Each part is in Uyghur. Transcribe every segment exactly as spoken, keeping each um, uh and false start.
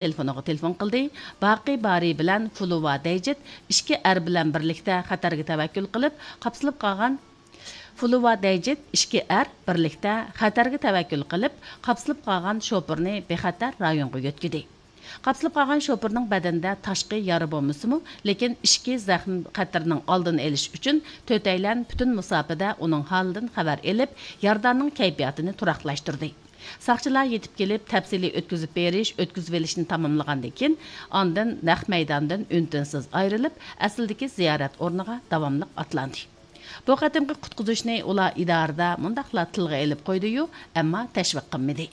تېلېفونىغا تېلېفون قىلدى. باقى بارى بىلەن فلۇۋا دەيجىت ئىككى ئەر بىلەن بىرلىكتە خەتەرگە تەۋەككۈل قىلىپ، قاپسىلىپ قالغان، فلۇۋا دەيجىت ئىككى ئەر بىرلىكتە خەتەرگە تەۋەككۈل قىلىپ، قاپسىلىپ قالغان شوپۇرنى بىخەتەر رايونغا يۆتكىدى. قاپسىلىپ قالغان شوپۇرنىڭ بەدىنىدە تاشقى يارا بولمىسىمۇ، لېكىن ئىچكى زەخىم خەتىرىنىڭ ئالدىنى ئېلىش ئۈچۈن تۆتەيلەن پۈتۈن مۇساپىدە ئۇنىڭ ھالىدىن خەۋەر ئېلىپ، يارىدارنىڭ كەيپىياتىنى تۇراقلاشتۇردى. ساقچىلار يېتىپ كېلىپ، تەپسىلىي ئۆتكۈزۈپ بېرىش، ئۆتكۈزۈۋېلىشنى تاماملىغاندىن كېيىن، ئاندىن نەق مەيداندىن ئۈن-تىنسىز ئايرىلىپ، ئەسلىدىكى زىيارەت ئورنىغا داۋاملىق ئاتلاندى. بۇ قېتىمقى قۇتقۇزۇشنى ئۇلار ئىدارىدە مۇنداقلا تىلغا ئېلىپ قويدىيۇ، ئەمما تەشۋىق قىلمىدى.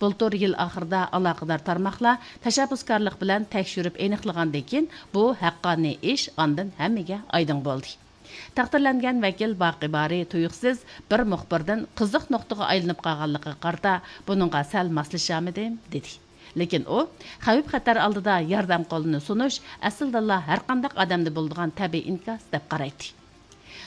بۇلتۇر يىل ئاخىرىدا ئالاقىدار تارماقلار تەشەببۇسكارلىق بىلەن تەكشۈرۈپ ئېنىقلىغاندىن كېيىن، بۇ ھەققانىي ئىش ئاندىن ھەممىگە ئايدىڭ بولدى. تەقدىرلەنگەن ۋەكىل باقى بارى تۇيۇقسىز بىر مۇخبىردىن قىزىق نۇقتىغا ئايلىنىپ قالغانلىقىغا قارىتا، بۇنىڭغا سەل ماسلىشالمىدىم، دېدى. لېكىن ئۇ خەۋپ-خەتەر ئالدىدا ياردەم قولىنى سۇنۇش ئەسلىدىنلا ھەرقانداق ئادەمدە بولىدىغان تەبىئىي ئىنكاس دەپ قارايتتى.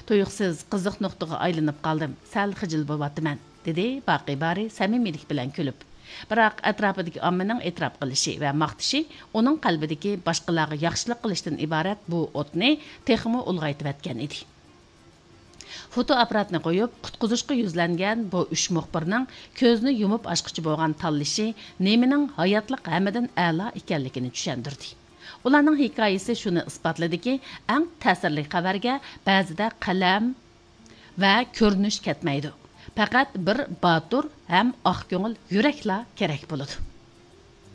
تۇيۇقسىز قىزىق نۇقتىغا ئايلىنىپ قالدىم، سەل خىجىل بولۇۋاتىمەن، دېدى باقى بارى سەمىمىيلىك بىلەن كۈلۈپ. بىراق ئەتراپىدىكى ئاممىنىڭ ئېتىراپ قىلىشى ۋە ماختىشى ئۇنىڭ قەلبىدىكى باشقىلارغا ياخشىلىق قىلىشتىن ئىبارەت بۇ ئوتنى تېخىمۇ ئۇلغايتىۋەتكەن ئىدى. فوتو ئاپپاراتنى قويۇپ، قۇتقۇزۇشقا يۈزلەنگەن بۇ ئۈچ مۇخبىرنىڭ كۆزنى يۇمۇپ ئاچقۇچە بولغان تاللىشى نېمىنىڭ ھاياتلىق ھەممىدىن ئەلا ئىكەنلىكىنى چۈشەندۈردى. ئۇلارنىڭ ھېكايىسى شۇنى ئىسپاتلىدىكى، ئەڭ تەسىرلىك خەۋەرگە بەزىدە قەلەم ۋە كۆرۈنۈش كەتمەيدۇ. پەقەت بىر باتۇر ھەم ئاق كۆڭۈل يۈرەكلا كېرەك بولىدۇ.